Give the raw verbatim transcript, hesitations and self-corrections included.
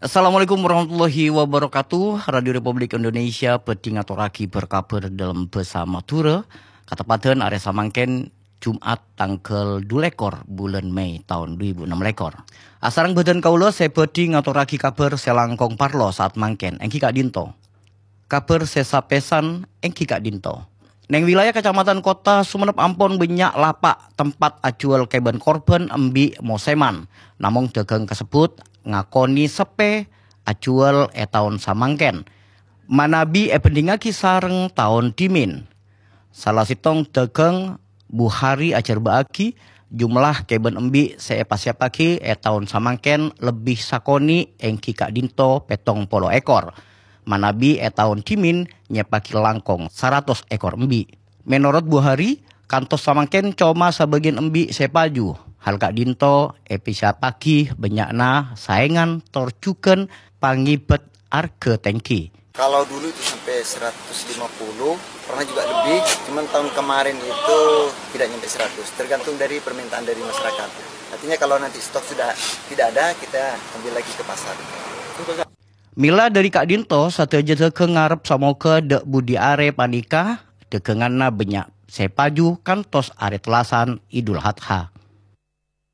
Assalamualaikum warahmatullahi wabarakatuh. Radio Republik Indonesia bhâdhi ngatorraghi bâr-kabhâr dâlem bhâsa Madhurâ. Kateppadhân arè samangkèn, Jum'at tangghâl du lèkor bulân Mei taon du èbu ennem lèkor. Asareng bhâdhân kaulâ sè bhâdhi ngatorraghi kabhâr sè langkong parlo saat mangkèn, èngghi ka'dinto. Kabhâr sè sapèsan èngghi ka'dinto. Neng wilayah Kecamatan Kota Sumenep ampon bânnya' lapa' tempat ajhuwâl kèbân korbhân embi' mosèman. Namong dhâghâng kasebbhut ngakonè seppè ajhuwâl è taon samangkèn, manabi èbhândhingngaghi sareng taon dhimèn. Sala sèttong dhâghâng Buhari ajhârbâ'âghi jumlah kèbân embi' sè èpasiyappaghi è taon samangkèn lebbi sakonè' èngghi ka'dinto pèttong polo èkor. Manabi è taon dhimèn nyèppaghi langkong saratos èkor embi'. Menorot Buhari, kantos samangkèn coma sabâgiyân embi' sè paju. Hal ka'dinto èpasiyappaghi bânnya'na saèngan tor jhughân pangèbât arghâ tèngghi. Kalau dulu itu sampai seratus lima puluh, pernah juga lebih, cuman tahun kemarin itu tidak nyampe seratus, tergantung dari permintaan dari masyarakat. Artinya kalau nanti stok sudah tidak ada, kita ambil lagi ke pasar. Mèla dâri ka'dinto, sadhâjâ dhâghâng ngarep samoghâ dâ' budi arè panèka dhâghânganna bânnya' sè paju kantos arè tellasan Idul Adha.